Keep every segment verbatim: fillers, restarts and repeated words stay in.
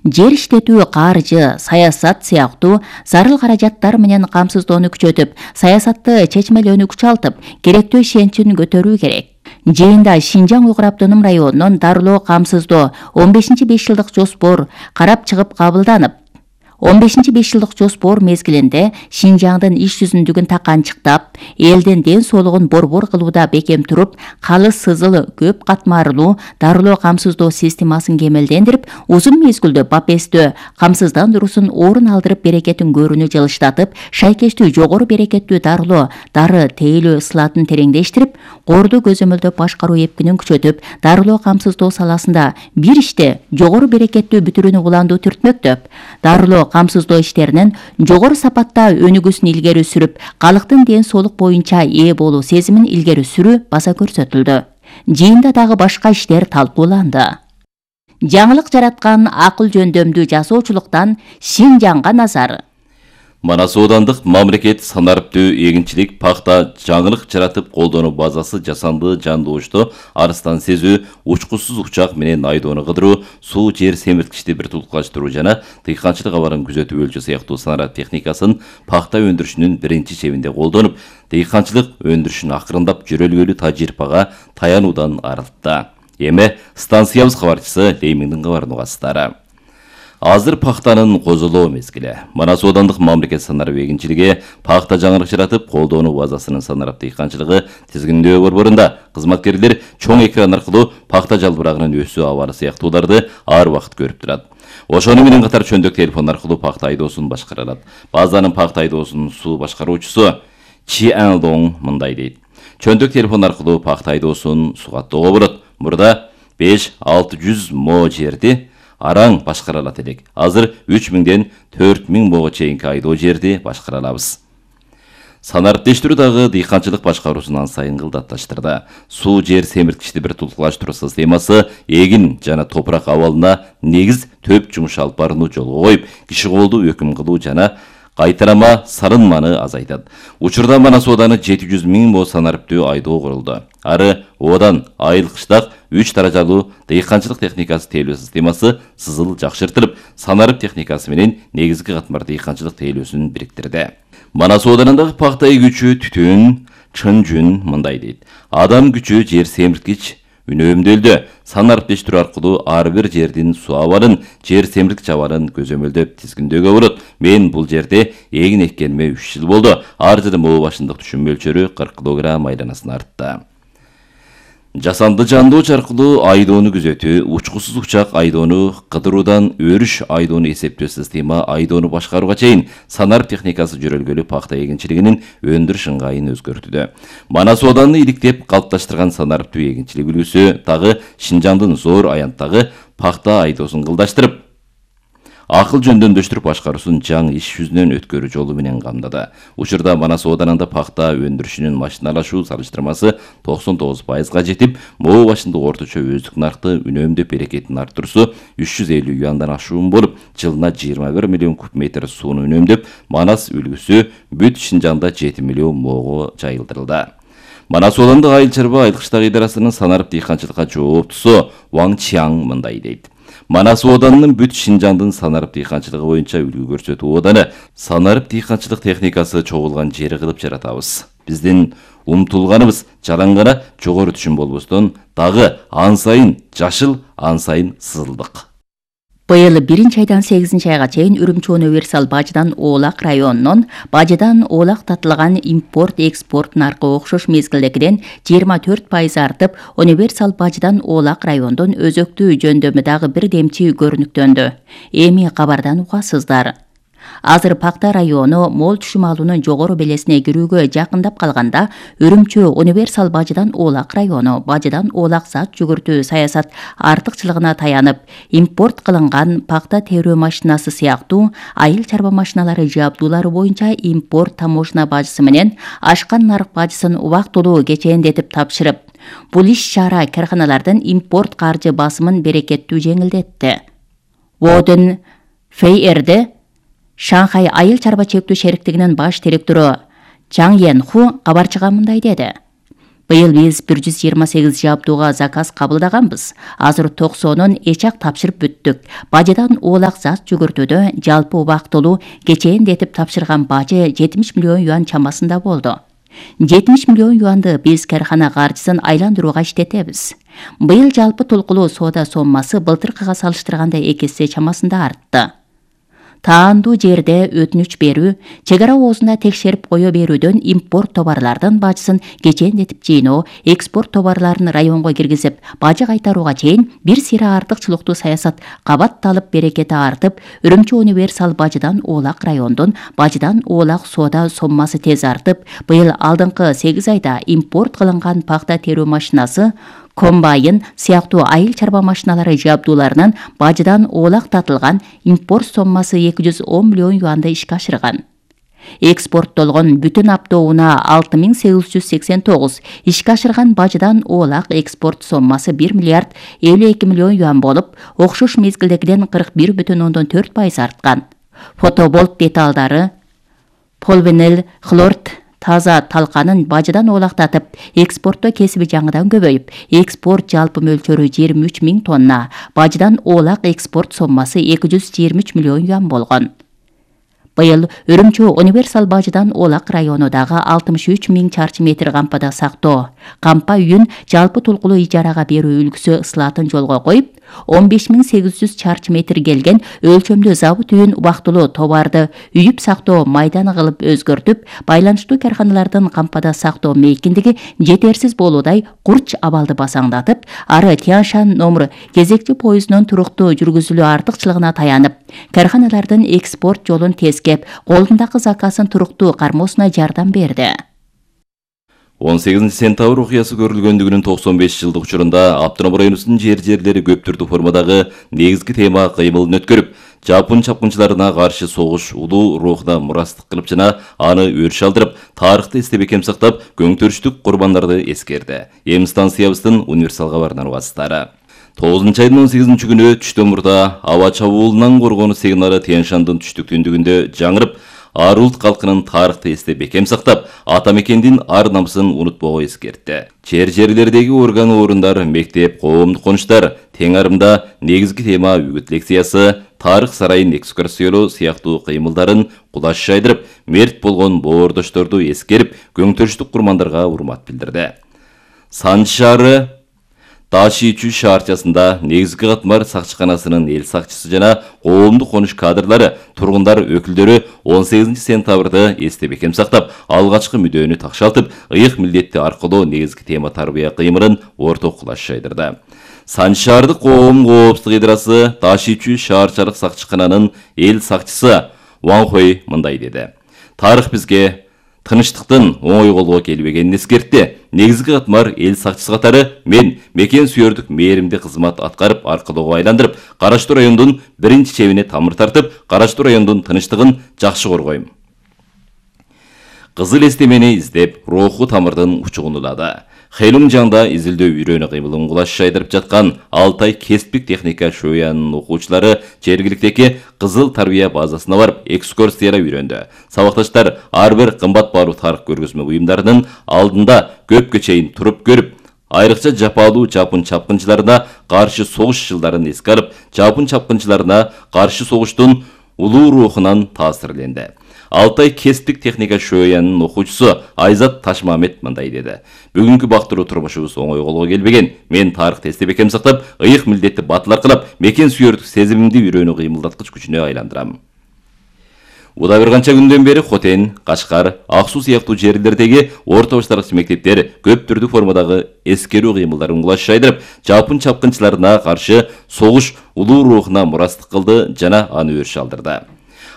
жер иштетүү, каржы, саясат сыяктуу зарыл каражаттар менен камсыздоону күчөтүп, саясатты чечмелөөнү күчалтып, керектүү ишенчин көтөрүү керек. Жыйында Шинжаң Уйгур автоном районунун дарылоо камсыздоо он бешинчи беш жылдык жоспор карап чыгып кабылданып, он бешинчи беш жылдык жоспор мезгилинде Шинжаңдын иш жүзүндүгүн таканчыктап, элдин ден соолугун борбор кылууда бекем туруп, калыс сызыл көп катмарлуу дарылоо камсыздоо системасын кемелдендирип, узун мезгилдүү бапестөө камсыздандыруусун орун алдырып, берекетин көрүүнү жылыштатып, шайкештүү жогору берекеттүү дарылоо, дары тейлөө ысылатын тереңдештирип, корду көзөмөлдөп башкаруу эпкинин күчөтүп, дарылоо камсыздоо саласында бир иште жогору берекеттүү бүтүрүүнү уландуу түртмөктөп, дарылоо камсыздоо иштеринин жогору сапатта өнүгүүсүн илгери сүрүп, калктын ден соолук боюнча ээ болуу сезимин илгери сүрүү баса көрсөтүлдү. Жыйында дагы башка иштер талкууланды. Жаңылык жараткан акыл жөндөмдүү жасоочулуктан Шинжаңга назар. Манас оодандык мамлекет санариптүү эгинчилик пахта жаңылык жаратып колдонуу базасы жасанды жандоошто арыстан сезүү, учкусуз учак менен айдоону кыдыруу, суу жер семирткичти бир тулкулаштыруу жана дыйканчылык абарын күзөтүү өлчү сыяктуу санарип техникасын пахта өндүрүшүнүн биринчи чебинде колдонуп, дыйканчылык өндүрүшүн акырындап жөрөлгөлүү тажрыйбага таянуудан арылтты. Эми станциябыз кабарчысы Леймиңдин кабарын угасыздар. Азыр пахтанын козулоо мезгили. Манас оодандык мамлекет санарип эгинчилиги пахта жаңылык жаратып колдонуу базасынын санарип дыйканчылыгы тизгиндөө борборунда кызматкерлер чоң экран аркылуу пахта жалбырагынын өсүү абары сыяктууларды ар убакыт көрүп турат. Ошону менен катар чөндүк телефон аркылуу пахта айдоосун башкара алат. Базанын пахта айдоосунун суу башкаруучусу Чи Андон мындай дейт. Чөндүк телефон аркылуу пахта айдоосун сугаттоого болот. Мурда беш алты жүз мо жерди араң башкара алат элек. Азыр үч миңден төрт миң мого чейинки айдоо жерди башкара алабыз. Санариптештирүү дагы дыйканчылык башкаруусун ан сайын кылдатташтырды. Суу жер семирткичти бир тулкулаштыруу системасы эгин жана топурак абалына негиз төп жумуш алып барууну жолго коюп, киши колду өкүм кылуу жана кайтарама сарынманы азайтат. Учурда Манас ооданы жети жүз миң мо санариптүү айдоо курулду. Ары оодан айыл кыштак үч даражалуу дыйканчылык техникасы тейлөө системасы сызыл жакшыртылып, санарип техникасы менен негизги катмар дыйканчылык тейлөөсүн бириктирди. Манас ооданындагы пахта эгүүчү Түтүн Чынжүн мындай дейт. Адам күчү жер семирткич үнөмдөлдү. Санариптештирүү аркылуу ар бир жердин суу абалын, жер семирткич абалын көзөмөлдөп тизгиндөөгө болот. Мен бул жерде эгин эккениме үч жыл болду. Ар жылы moo башындык түшүм мөлчөрү кырк килограмм айланасына артты. Жасанды жандооч аркылуу айдоону күзөтүү, учкусуз учак айдоону кыдыруудан өрүш айдоону эсептөө система айдоону башкарууга чейин санарип техникасы жөрөлгөлүү пахта эгинчилигинин өндүрүш ыңгайын өзгөртүүдө. Манас ооданы иликтеп калыпташтырган санариптүү эгинчилик үлгүсү дагы Шинжаңдын зор аянттагы пахта айдоосун кылдаштырып, акыл жөндөмдөштүрүп башкаруусун жаңы иш жүзүнөн өткөрүү жолу менен камдады. Учурда Манас ооданында пахта өндүрүшүнүн машиналашуу салыштырмасы токсон тогуз пайызга жетип, moo башындык орточо өздүк наркты үнөмдөп берекетин арттыруусу үч жүз элүү юандан ашуун болуп, жылына жыйырма бир миллион куб метр сууну үнөмдөп, Манас үлгүсү бүт Шинжаңда жети миллион моого жайылдырылды. Манас оодандык айыл чарба айыл кыштак идарасынын санарип дыйканчылыкка жооптусу Ваң Чиаң мындай дейт. Манас ооданынын бүт Шинжаңдын санарип дыйканчылыгы боюнча үлгү көрсөтүү ооданы санарип дыйканчылык техникасы чогулган жери кылып жаратабыз. Биздин умтулганыбыз жалаң гана жогору түшүм болбостон, дагы ан сайын жашыл, ан сайын сызылдык. Быйыл биринчи айдан сегизинчи айга чейин Үрүмчү универсал Бажыдан Оолак районунун Бажыдан Оолак татылган импорт-экспорт наркы окшош мезгилдегиден жыйырма төрт пайыз артып, универсал Бажыдан Оолак райондун өзөктүү жөндөмү дагы бир демчи көрүнүктөндү. Эми кабардан угасыздар. Азыр Пакта району мол түшүм алуунун жогору белесине кирүүгө жакындап калганда, Үрүмчү универсал Бажыдан Оолак району Бажыдан Оолак зат жүгүртүү саясат артыкчылыгына таянып, импорт кылынган пакта терүү машинасы сыяктуу айыл чарба машиналары жабдуулары боюнча импорт таможня бажысы менен ашкан нарык бажысын убактылуу кечээндетип тапшырып, бул иш чара карканалардын импорт каржы басымын берекеттүү жеңилдетти. Воден Фейерде Шанхай айыл чарба чектүү шериктигинин баш директору Чаң Йен Ху кабарчыга мындай деди. Быйыл биз бир жүз жыйырма сегиз жабдууга заказ кабылдаганбыз. Азыр токсонун эчак тапшырып бүттүк. Бажыдан оолак зат жүгүртүүдө жалпы убактылуу кечээндетип тапшырган бажы жетимиш миллион юан чамасында болду. жетимиш миллион юанды биз кархана каржысын айландырууга иштетебиз. Быйыл жалпы толкулуу соода соммасы былтыркыга салыштырганда эки эсе чамасында артты. Таандуу жерде өтүнүч берүү, чек ара оозунда текшерип кое берүүдөн импорт товарлардын бажысын кечээндетип жыйноо, экспорт товарларын районго киргизип, бажы кайтарууга чейин бир сыйра артыкчылыктуу саясат кабатталып, берекети артып, Үрүмчү универсал бажыдан оолак райондун бажыдан оолак соода соммасы тез артып, быйыл алдыңкы сегиз айда импорт кылынган пахта терүү машинасы, комбайн сыяктуу айыл чарба машиналары жабдууларынан бажыдан оолак татылган импорт соммасы эки жүз он миллион юанды ишке ашырган. Экспорттолгон бүтүн аптоуна алты миң сегиз жүз сексен тогуз, ишке ашырган бажыдан оолак экспорт соммасы бир миллиард элүү эки миллион юан болуп, окшош мезгилдегиден кырк бир бүтүн ондон төрт пайыз арткан. Фотоболт деталдары, полвинил, хлорд таза талканын бажыдан оолактатып, экспортто кесиби жаңыдан көбөйүп, экспорт жалпы мөлчөрү жыйырма үч миң тонна, бажыдан оолак экспорт соммасы эки жүз жыйырма үч миллион юан болгон. Быйыл Үрүмчү универсал бажыдан оолак районундагы алтымыш үч миң чарчы метр кампада сактоо, кампа үйүн жалпы толкулуу ижарага берүү үлгүсү ысылатын жолго коюп, он беш миң сегиз жүз чарчы метр келген өлчөмдүү забыт үйүн убактылуу товарды үйүп сактоо майданы кылып өзгөртүп, байланыштуу карханалардын кампада сактоо мейкиндиги жетерсиз болуудай курч абалды басаңдатып, ары Тянь-Шань номер кезекчи поездунун туруктуу жүргүзүлүү артыкчылыгына таянып, карханалардын экспорт жолун тескеп, колундагы заказын туруктуу кармоосуна жардам берди. он сегизинчи сентябрь окуясы көрүлгөндүгүнүн токсон беш жылдык учурунда Автоном районубуздун жер жерлери көп түрдүү формадагы негизги тема кыймылын өткөрүп, жапон чапкынчыларына каршы согуш улуу рухуна мурастык кылып жана аны өрүш алдырып, тарыхты эстеп бекем сактап, көңтөрүштүк курбандарды эскерди. Эми станциябыздын универсал кабарынан убасыздары. тогузунчу айдын он сегизинчи күнү түштөн мурда аба чабуулунан коргонуу сигналы Тянь-Шандын түштүк түндүгүндө жаңырып, ар улут калкынын тарыхты эстеп бекем сактап, ата мекендин ар намысын унутпого эскертти. Жер жерлердеги орган орундар, мектеп, коомдук конуштар теңарымда негизги тема үгүт лекциясы, тарых сарайын экскурсиялоо сыяктуу кыймылдарын кулаш жайдырып, мерт болгон боордошторду эскерип, көңтөрүштүк курмандарга урмат билдирди. Санжы шаары Ташичу шаарчасында негизги катмар сакчыканасынын эл сакчысы жана коомдук конуш кадрлары, тургундар өкүлдөрү он сегизинчи сентябрды эстеп бекем сактап, алгачкы мүдөөнү такшалтып, ыйык милдетти аркылоо негизги тема тарбия кыймылын орток кулаш жайдырды. Санжы шаардык коом коопсуздук идарасы Ташичу шаарчалык сакчыкананын эл сакчысы Ван Хой мындай деди: "Тарых бизге тыныштыктын оңой колго келбегенин эскертти. Негизги катмар эл сакчысы катары мен мекен сүйөрдүк мээримди кызмат аткарып, аркылоого айландырып, Караштуу райондун биринчи чебине тамыр тартып, Караштуу райондун тынчтыгын жакшы коргойм. Кызыл эстемени издеп, руху тамырдын учугун улады. Хэлүнжаңда изилдөө үйрөнүү кыймылын кулаш жайдырып жаткан Алтай кесиптик техника шоянын окуучулары жергиликтеги Кызыл тарбия базасына барып экскурсияга үйрөндү. Сабакташтар ар бир кымбат баалуу тарых көргөзмө буюмдарынын алдында көпкө чейин туруп көрүп, айрыкча жапалуу жапон чапкынчыларына каршы согуш жылдарын эске алып, жапон чапкынчыларына каршы согуштун улуу рухунан таасирленди. Алтай кесиптик техника шоянын окуучусу Айзат Ташмамет мындай деди: "Бүгүнкү бактыруу турмушубуз оңой колго келбеген. Мен тарыхты эстеп бекем сактап, ыйык милдетти батыл аркылап, мекен сүйөрдүк сезимимди үйрөнүү кыймылдаткыч күчүнө айландырам. Уда бир канча күндөн бери Хотен, Кашкар, Ак Суу сыяктуу жерлердеги орто баштаргыч мектептер көп түрдүү формадагы эскерүү кыймылдарын кулаш жайдырып, жапон чапкынчыларына каршы согуш улуу рухуна мурастык кылды жана аны өрүш алдырды.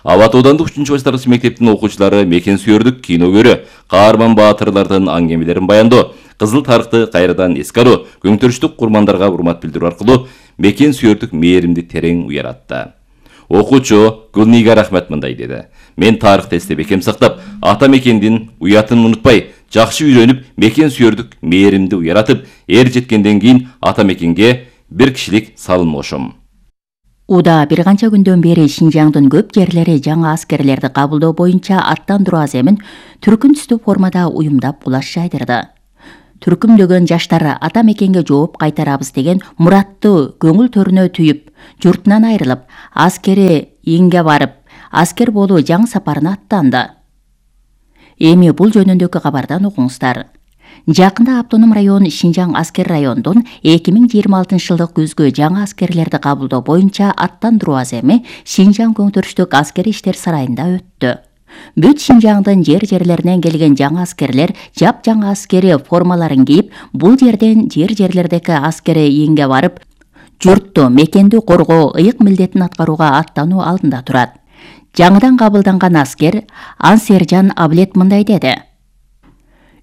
Абат аудандык үчүнчү баштаргыч мектептин окуучулары мекен сүйөрдүк кино көрүү, каарман баатырлардын аңгемелерин баяндоо, кызыл тарыхты кайрадан эске алуу, көңтөрүштүк курмандарга урмат билдирүү аркылуу мекен сүйөрдүк мээримди терең уяратты. Окуучу Гүлнигар Ахмет мындай деди: "Мен тарыхты эстеп бекем сактап, ата мекендин уятын унутпай, жакшы үйрөнүп, мекен сүйөрдүк мээримди уяратып, эр жеткенден кийин ата мекенге бир кишилик салым кошом." Уда бир канча күндөн бери Шинжаңдын көп жерлери жаңа аскерлерди кабылдоо боюнча аттандыруу аземин түркүн түстүү формада уюмдап кулаш жайдырды. түркүмдөгөн жаштар ата мекенге жооп кайтарабыз деген мураттуу көңүл төрүнө түйүп, журтунан айрылып, аскери иңге барып, аскер болуу жаңы сапарына аттанды. Эми бул жөнүндөгү кабардан угуңуздар. Жакында автоном район Шинжаң аскер райондун эки миң жыйырма алтынчы жылдык күзгү жаңы аскерлерди кабылдоо боюнча аттандыруу аземи Шинжаң көңтүрүштүк аскери иштер сарайында өттү. Бүт Шинжаңдын жер-жерлеринен келген жаңы аскерлер жап-жаңы аскери формаларын кийип, бул жерден жер-жерлердеги аскери иңге барып, журтту, мекенди коргоо ыйык милдетин аткарууга аттануу алдында турат. Жаңыдан кабылданган аскер Ансержан Аблет мындай деди.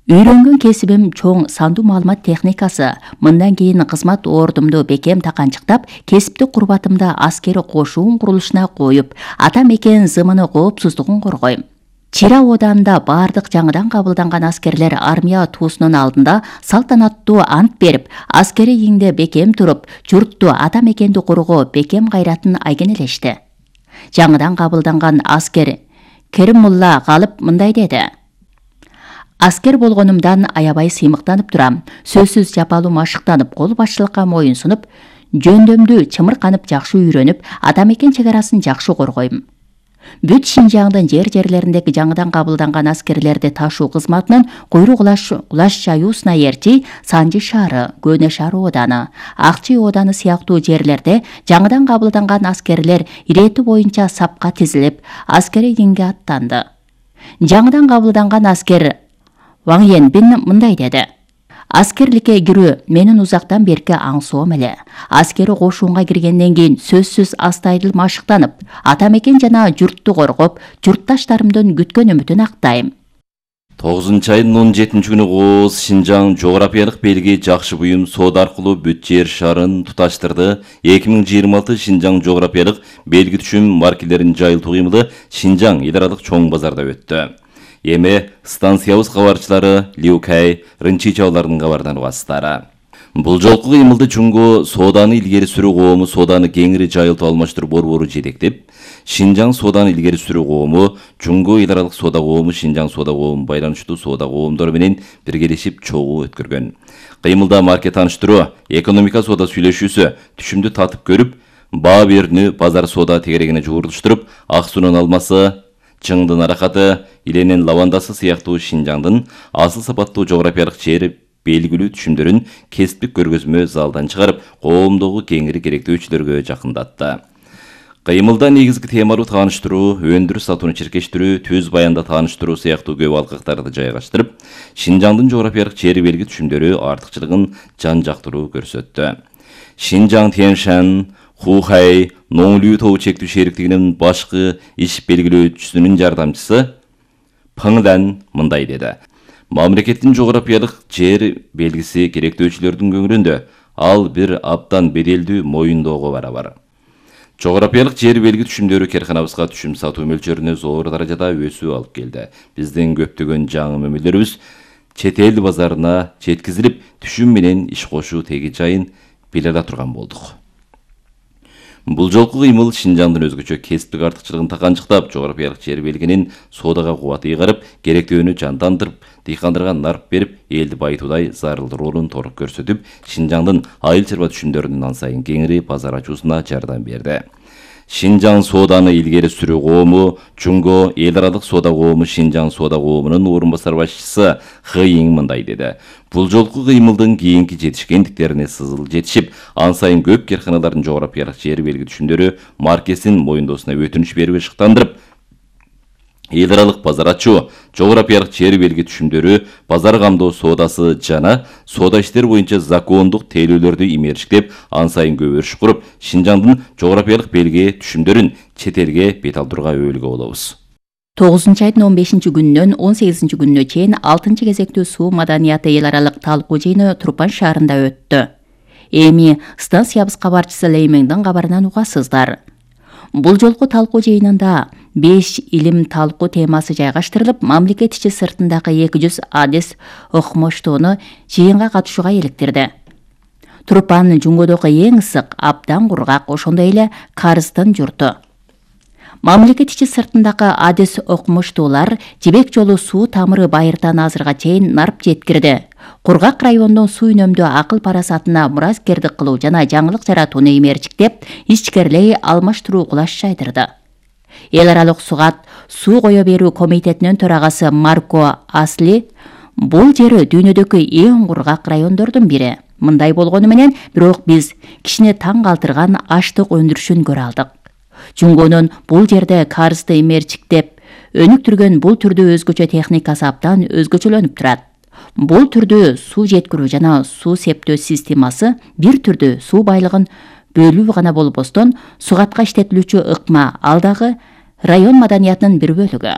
Үйрөнгөн кесибим чоң сандуу маалымат техникасы. Мындан кийин кызмат ордумду бекем таканчыктап, кесиптик курбатымды аскери кошуун курулушуна коюп, ата мекен зымыны коопсуздугун коргойм. Чира ооданда бардык жаңыдан кабылданган аскерлер армия туусунун алдында салтанаттуу ант берип, аскери иңде бекем туруп, журтту, ата мекенди коргоо бекем кайратын айгинелешти. Жаңыдан кабылданган аскер Керимулла Галып мындай деди. Аскер болгонумдан аябай сыймыктанып турам. Сөзсүз жапалуу машыктанып, кол башчылыкка моюн сунуп, жөндөмдү чымырканып жакшы үйрөнүп, ата мекен чек арасын жакшы коргойм. Бүт Шинжаңдын жер-жерлериндеги жаңыдан кабылданган аскерлерди ташуу кызматынын Куйрук улаш, улаш чаюусуна Эрчи, Санжы шаары, Көнө шаар ооданы, Акчы ооданы сыяктуу жерлерде жаңыдан кабылданган аскерлер ирети боюнча сапка тизилип, аскери иңге аттанды. Жаңыдан кабылданган аскер Ваң Янбин мындай деди. Аскерликке кирүү менин узактан берки аңсоом эле. Аскери кошуунга киргенден кийин сөзсүз астайдыл машыктанып, ата мекен жана журтту коргоп, журтташтарымдын күткөн үмүтүн актайм. тогузунчу айдын он жетинчи күнү Кооз Шинжаң жографиялык белги жакшы буюм соода аркылуу бүт жер шаарын туташтырды. эки миң жыйырма алты Шинжаң жографиялык белги түшүм маркелерин жайылтуу кыймылы Шинжаң эл аралык чоң базарда өттү. Эми станциябыз кабарчылары Liukay, Рынчи чабалардын кабардан угасыздары. Бул жолку кыймылды чуңгу сооданы илгери сүрүү коому сооданы кеңири жайылтып алмаштыруу борбору жетектеп, Шинжаң сооданы илгери сүрүү коому, чуңгу эл аралык соода коому, Шинжаң соода коому байланыштуу соода коомдору менен биргелешип чогуу өткөргөн. Кыймылда марке тааныштыруу, экономика соода сүйлөшүүсү, түшүмдү татып көрүп, баа берүүнү базар соода тегерегине жуурулуштуруп, ак суунун алмасы, чыңдын аракаты, иленин лавандасы сыяктуу Шинжаңдын асыл сапаттуу жографиялык жер белгилүү түшүмдөрүн кесиптик көргөзмө залдан чыгарып, коомдогу кеңири керектөөчүлөргө жакындатты. Кыймылда негизги темалуу тааныштыруу, өндүрүш сатууну чиркештирүү, түз баянда тааныштыруу сыяктуу көп алкактарды жайгаштырып, Шинжаңдын жографиялык жер белги түшүмдөрү артыкчылыгын жан жактыруу көрсөттү. Шинжаң Тяньшань, Хухай, Ноңлүү тобу чектүү шериктигинин башкы иш белгилөөчүсүнүн жардамчысы Пыңдан мындай деди. Мамлекеттин жографиялык жер белгиси керектөөчүлөрдүн көңүлүндө, ал бир абдан беделдүү моюндоого барабар. Жографиялык жер белги түшүмдөрү керканабызга түшүм сатуу мөлчөрүнө зор даражада өсүү алып келди. Биздин көптөгөн жаңы мөмөлөрүбүз чет эл базарына жеткизилип, түшүм менен иш кошуу теги жайын биле ала турган болдук. Бул жолку кыймыл Шинжаңдын өзгөчө кесиптик артыкчылыгын таканчыктап, жографиялык жер белгинин соодага кубаты ыйгарып, керектөөнү жандандырып, дыйкандарга нарп берип, элди байытуудай зарыл ролун толук көрсөтүп, Шинжаңдын айыл чарба түшүмдөрүнүн ан сайын кеңири базар ачуусуна жардам берди. Шинжаң сооданы илгери сүрүү коому, чуңго эл аралык соода коому Шинжаң соода коомунун орун басар башчысы Хыйың мындай деди. Бул жолку кыймылдын кийинки жетишкендиктерине сызыл жетишип, ан сайын көп керканалардын жографиялык жер белги түшүмдөрү маркесин моюндоосуна өтүнүч берип ышыктандырып, эл аралык базар ачуу, жографиялык жер белги түшүмдөрү, базар камдоо соодасы жана соода иштер боюнча закондук тейлөөлөрдү имериштеп, ан сайын көбөрүш куруп, Шинжаңдын жографиялык белги түшүмдөрүн чет элге бет алдырууга өбөлгө болобуз. тогузунчу айдын он бешинчи күнүнөн он сегизинчи күнүнө чейин алтынчы кезектүү суу маданияты эл аралык талкуу жыйыны Турпан шаарында өттү. Эми станциябыз кабарчысы Леймеңдин кабарынан угасыздар. Бул жолку талкуу жыйынында беш илим талкуу темасы жайгаштырылып, мамлекет ичи сыртындагы эки жүз адис окумуштууну жыйынга катышууга иликтирди. Турпан жуңгодогу эң ысык, абдан кургак, ошондой эле карыздын журту. Мамлекет ичи сыртындагы адис окумуштуулар жибек жолу суу тамыры байыртан азырга чейин нарп жеткирди. кургак райондун суу үнөмдөө акыл парасатына мураскердик кылуу жана жаңылык жаратууну эмерчиктеп, ичкерилей алмаштыруу кулаш жайдырды. Эл аралык сугат суу кое берүү комитетинин төрагасы Марко Асли бул жер дүйнөдөгү эң кургак райондордун бири. Мындай болгону менен, бирок биз кишини таң калтырган аштык өндүрүшүн көрө алдык. Жунгонун бул жерде карызды эмерчиктеп өнүктүргөн бул түрдүү өзгөчө техникасы абдан өзгөчөлөнүп турат. Бул түрдүү суу жеткирүү жана суу септөө системасы бир түрдүү суу байлыгын бөлүү гана болбостон, сугатка иштетилүүчү ыкма ал дагы район маданиятынын бир бөлүгү.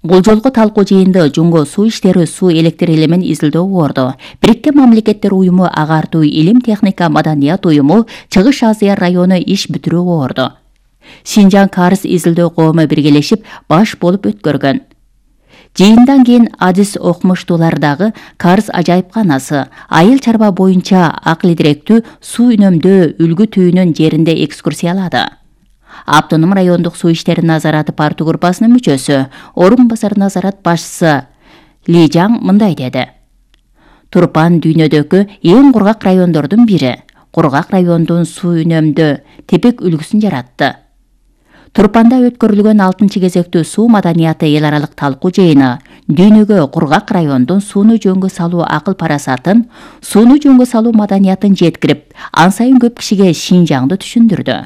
Бул жолку талкуу жыйында Жунго суу иштери суу электр элемин изилдөө борду. Бириккен Мамлекеттер уюму, Агартуу илим техника маданият уюму, Чыгыш Азия району иш бүтүрүү борду. Шинжаң карыз изилдөө коому биргелешип баш болуп өткөргөн. Жыйындан кийин адис окумуштуулардагы карыз ажайыпканасы айыл чарба боюнча акыл директүү суу үнөмдөө үлгү түйүнүн жеринде экскурсиялады. Автоном райондук суу иштери назараты парту группасынын мүчөсү, орун басар назарат башчысы Ли Жаң мындай деди. Турпан дүйнөдөгү эң кургак райондордун бири. Кургак райондун суу үнөмдөө тепек үлгүсүн жаратты. Турпанда өткөрүлгөн алтынчы кезектүү суу маданияты эл аралык талкуу жыйыны дүйнөгө кургак райондун сууну жөнгө салуу акыл парасатын, сууну жөнгө салуу маданиятын жеткирип, ан сайын көп кишиге Шинжаңды түшүндүрдү.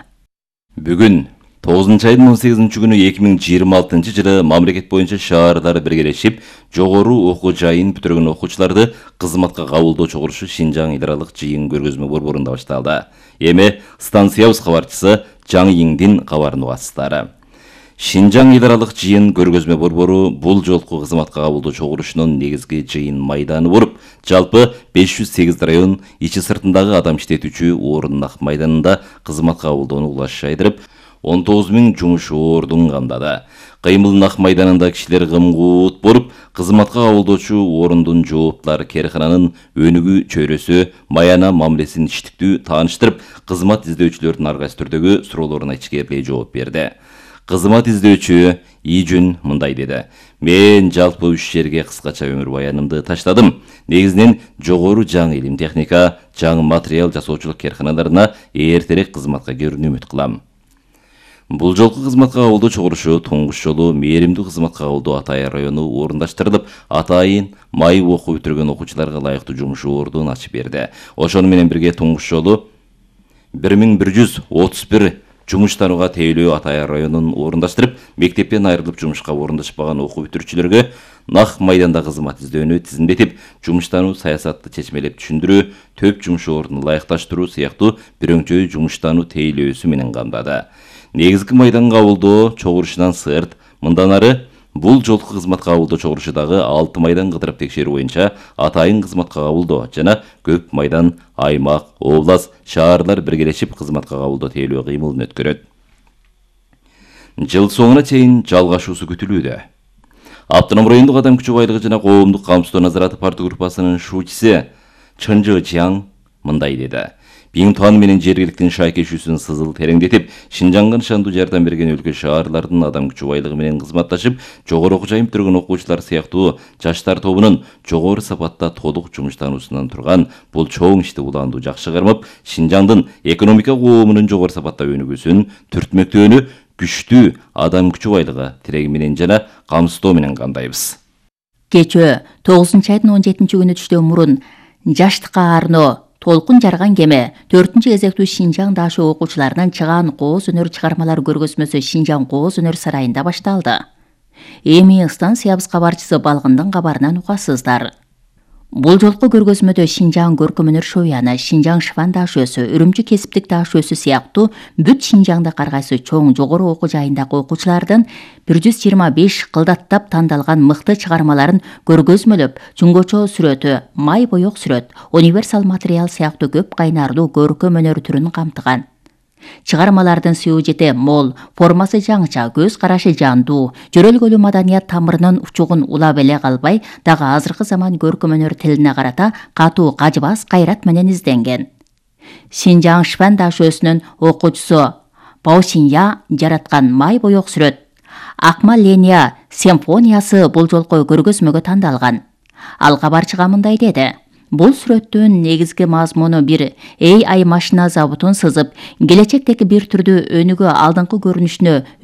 Бүгүн тогузунчу айдын он сегизинчи күнү эки миң жыйырма алтынчы жылы мамлекет боюнча шаарлар биргелешип, жогору окуу жайын бүтүргөн окуучуларды кызматка кабылдоо чогулушу Шинжаң эл аралык жыйын көргөзмө борборунда башталды. Эми станциябыз кабарчысы Жаң Йиңдин кабарын угасыздар. Шинжаң эл аралык жыйын көргөзмө борбору бул жолку кызматка кабылдоо чогулушунун негизги жыйын майданы болуп, жалпы беш жүз сегиз район ичи сыртындагы адам иштетүүчү орун ак майданында кызматка кабылдоону улаш жайдырып, он тогуз миң жумуш ордун камдады. Кыймыл ак майданында кишилер кымгуут болуп, кызматка кабылдоочу орундун жооптулар керкананын өнүгүү чөйрөсү, маяна мамилесин иштиктүү тааныштырып, кызмат издөөчүлөрдүн ар кайсы түрдөгү суроолоруна ичкерилей жооп берди. Кызмат издөөчү Ижүн мындай деди. Мен жалпы үч жерге кыскача өмүр баянымды таштадым. Негизинен жогору жаң илим техника, жаң материал жасоочулук керканаларына эртерээк кызматка кирүүнү үмүт кылам. Бул жолку кызматка кабылдоо чогулушу туңгуч жолу мээримдүү кызматка кабылдоо Атайын району орундаштырылып, атайын май окуу бүтүргөн окуучуларга ылайыктуу жумуш ордун ачып берди. Ошону менен бирге туңгуч жолу бир миң бир жүз отуз бир жумуш танууга тейлөө Атайын районун орундаштырып, мектептен айрылып жумушка орундашпаган окуу бүтүрүүчүлөргө нак майданда кызмат издөөнү тизимдетип, жумуш тануу саясатты чечмелеп түшүндүрүү, төп жумуш ордун ылайыкташтыруу сыяктуу бирөңчөй жумуш тануу тейлөөсү менен камдады. Негизги майдан кабылдоо чогулушунан сырт, мындан ары бул жолку кызматка кабылдоо чогулушу дагы алты майдан кыдырып текшерүү боюнча атайын кызматка кабылдоо жана көп майдан, аймак, област, шаарлар биргелешип кызматка кабылдоо тейлөө кыймылын өткөрөт. Жыл соңуна чейин жалгашуусу күтүлүүдө. Автоном райондук адам күчү байлыгы жана коомдук камсыздоо назараты партия группасынын шуучусу Чынжы Жаң мындай деди. Биңтуан менен жергиликтин шайкешүүсүн сызыл тереңдетип, Шинжаңга нышандуу жардам берген өлкө шаарлардын адам күчү байлыгы менен кызматташып, жогору окуу жайын бүтүргөн окуучулар сыяктуу жаштар тобунун жогору сапатта толук жумуш тануусунан турган бул чоң ишти улаандуу жакшы кармап, Шинжаңдын экономика коомунун жогору сапатта өнүгүүсүн, түртмөктөөнү күчтүү адам күчү байлыгы тиреги менен жана камсыздоо менен кандайбыз. Кечөө тогузунчу айдын он жетинчи күнү түштөн мурун жаштыкка арноо толкун жарган кеме төртүнчү кезектүү Шинжаң дашы окуучуларынын чыгаан кооз өнөр чыгармалар көргөзмөсү Шинжаң кооз өнөр сарайында башталды. Эми станциябыз кабарчысы Балгындын кабарынан угасыздар. Бул жолку көргөзмөдө Шинжаң көркөм өнөр шояны, Шинжаң шыван дашөөсү, Үрүмчү кесиптик дашөөсү сыяктуу бүт Шинжаңда каргайсы чоң жогору окуу жайындагы окуучулардын бир жүз жыйырма беш кылдаттап тандалган мыкты чыгармаларын көргөзмөлөп, чуңгочо сүрөтү, май боек сүрөт, универсал материал сыяктуу көп кайнарлуу көркөм өнөр түрүн камтыган. Чыгармалардын сюжети мол, формасы жаңыча, көз карашы жандуу, жөрөлгөлүү маданият тамырынын учугун улап эле калбай, дагы азыркы заман көркөм өнөр тилине карата катуу кажыбас кайрат менен изденген. Шинжаң шыван дашөөсүнүн окуучусу Паусинья жараткан май боек сүрөт Акма Ления симфониясы бул жолку көргөзмөгө тандалган. Ал кабарчыга мындай деди. Бул сүрөттүн негизги мазмуну бир A I машина заводун сызып, келечектеги бир түрдүү өнүгүү алдыңкы көрүнүшүнө